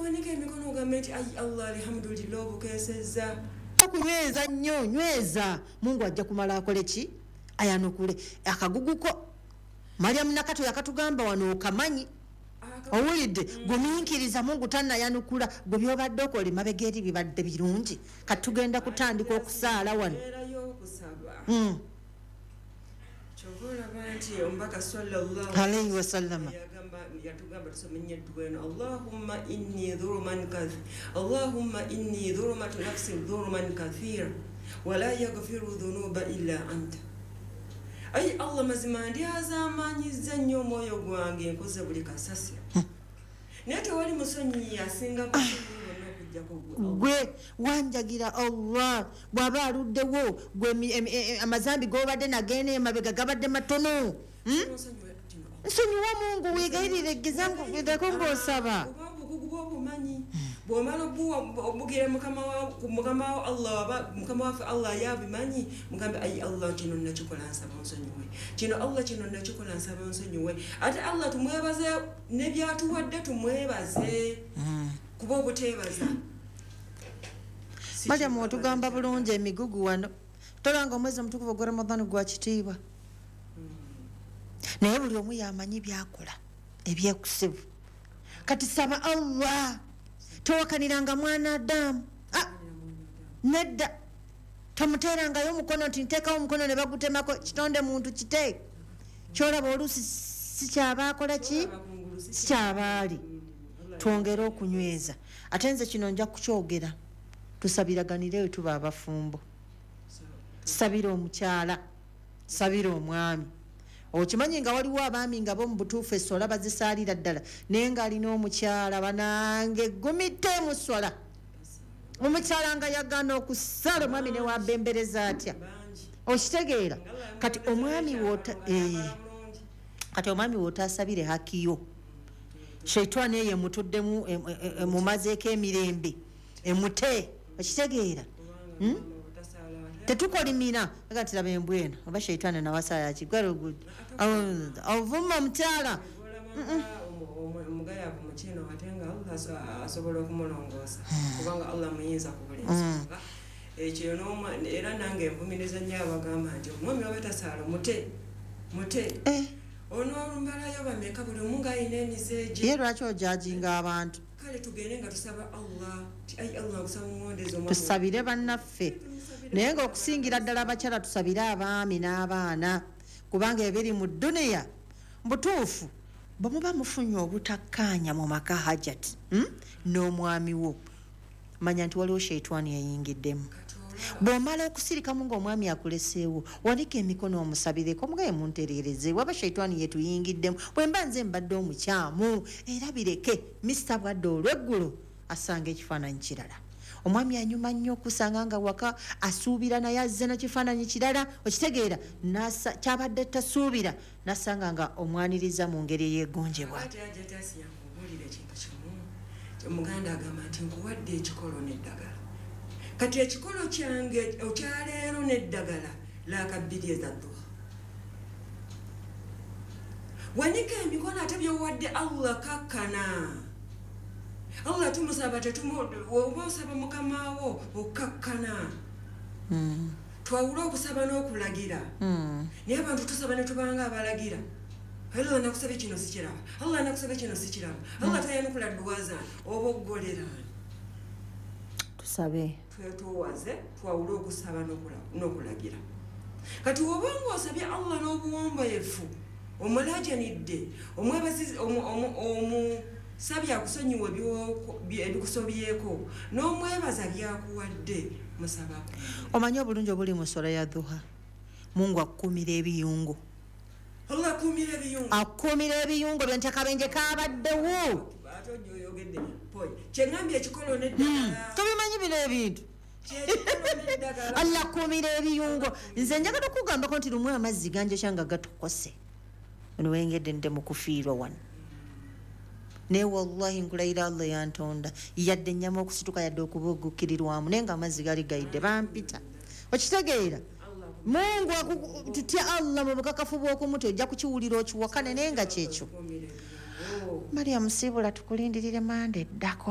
Owanike emikono ogambe nti, "Ayi Allah, alhamdulillah, obukeesezza." Okunyweza nnyo, nyweza. Mungu ajja kumala akole ki? Ayanukule akaguguko. Mariamu Nakato yakatugamba wano, okamanyi. Owulidde? Gumiikiriza, Mungu tanayanukula. Gwe byobadde okola emabega eri bibadde birungi. Kati tugenda kutandika okusaala wano. Embeera y'okusaba. Kyova olaba nti omubaka sallallahu alaihi wasallama yagamba, yatugamba tusome nnyo edduwa eno: "Allahumma inni dhuluman kath Allahumma inni dhulumatu nafsi dhuluman kathira wala yaghfiru dhunuba illa anta." Ayi Allah, mazima ndyazaamanyizza nnyo omwoyo gwange, nkoze buli kasasiro, naye tewali musonyiyi asinga basonyiyi bonna okujjako gwe Allah. Gwe wanjagira Allah bw'aba aluddewo, gwe amazambi gobadde nagenda emabega gabadde matono. Onsonyiwe kino, Allah. Nsonyiwa Mungu, wegayirire, gezako ng'osaba. Oba obukugu bwobumanyi, bwomala obugira mukama wa Allah, mukama waffe Allah yabimanyi. Mugambe, "Ayi Allah, kino nakikola, nsaba onsonyiwe kino. Allah, kino nakikola, nsaba onsonyiwe." Ate Allah tumwebaze nebyatuwadde, tumwebaze, kuba obuteebaza si Mariamu, kintu. otugamba bulungi emigugu wano. Tolanga omwezi omutukuvu ogwa Ramadhan gwa kitiibwa, naye buli omu yamanyi byakola ebyekusibu. Kati saba Allah, towakaniranga mwana Adamu. Ah, nedda, tomuteerangayo omukono nti nteekawo omukono ne bagutemako. Kitonde muntu kite kyolaba oluusi sikyaba akola ki, Bakungulu si sikyabaali. Twongere okunyweza. Ate nze kino nja kukyogera, tusabiraganire we tuba abafumbo. Sabira omukyala, sabira omwami. Okimanyi nga waliwo abaami nga bo mu butuufu eswala bazisaalira ddala, naye ng'alina omukyala banange gumite mu swala, omukyala nga yagaana okusala, omwami ne wabembereza atya? Bangi. Okitegeera? Kati omwami wota, kati omwami wotasabire hakiyo, sheitwani eyo emutuddemu, emumazeeko emirembe, emute. Okitegeera? Hmm? Tetukolimira aga nti laba embwa eno, oba sheitwani nawasayaki ovuma omukyala. Omugayavu mukino, ate nga Allah asobola okumulongoosa, kubanga Allah muyinza ku buli nsonga. Ekyo era nange envumiriza nnyo abagamba nti omwami waba tasaala, mute, mute. Onoolumbalayo bameka? Buli omu ng'alina emize gye. Ye lwaki ojajinga abantu? Kale tugende nga tusaba Allah ti, "Ayi Allah, nkusaba omwondezi omwami." Tusabire bannaffe, naye ngaokusingira ddala abakyala, tusabire abaami n'abaana, kubanga ebiri mu duniya butuufu. Bwe muba mufunye obutakkaanya mu maka, Hajat, N'omwami wo, manya nti waliwo sheitwani eyingiddemu. Bw'omala okusirikamu ng'omwami akuleseewo, wanika emikono omusabireko, mugaye muntereereze waba sheitwani yetuyingiddemu, bwe mba nze mbadde omukyamu, era bireke. Mista bwadde olweggulo asanga ekifaananyi kirala. Omwami anyuma nnyo okusanga nga waka asuubira, naye azze nakifaananyi kirala. Okitegeera? Kyabadde tasuubira, nasanga nga omwaniriza mu ngeri eyegonjebwa. Ate ajja tasiya nkubuulira ekintu kimu. Omuganda agamba nti, "Nkuwadde ekikolo n'eddagala." Kati ekikolo kyange okyaleero n'eddagala laaka bbiri eza duha. Wanika emikono, ate byowadde Allah kakkana. Allah tumusaba, oba osaba mukamawo, okkakkana. Twawule okusaba n'okulagira. Naye abantu tusaba ne tubanga abalagira. Allah nakusaba kino sikiraba, Allah nakusaba kino sikiraba, Allah tayanukula dduwa zange. Oba oggoleraani? Tusabe. Twetowaze, twawule okusaba n'okulagira. Kati woba nga osabye Allah n'obuwombeefu, omulajanidde, omusabye akusonyiwa ebikusobyeko, n'omwebaza byakuwadde, musaba. Omanyi obulungi obuli mu sola ya duha? Mungu akukumira ebiyungo. Allah akuumira ebiyungo. Akukumira ebiyungo byo nti akabenje kabaddewo. Ate ojja oyogedde poy kyeŋŋambye, ekikolo n'eddagala. Tobimanyi bino ebintu? Kyekikolo n'eddagala. Allah akuumira ebiyungo. Nze njagala okugambako nti lumu amazzi ganjokya nga gatokose, ono wengedde nte mu kufiirwa wano, naye wallahi nkulayira Allah yantonda, yadde ennyama okusituka, yadde okubugukirirwamu, naye nga amazzi gali gayidde bampita. Okitegeera? Mungu tutya Allah mu bukakafu bw'okumutya, ojja kukiwulira okiwakane, naye nga kyekyo. Akuumira ebiyungo. Mariam Siibula, tukulindirire manda eddako.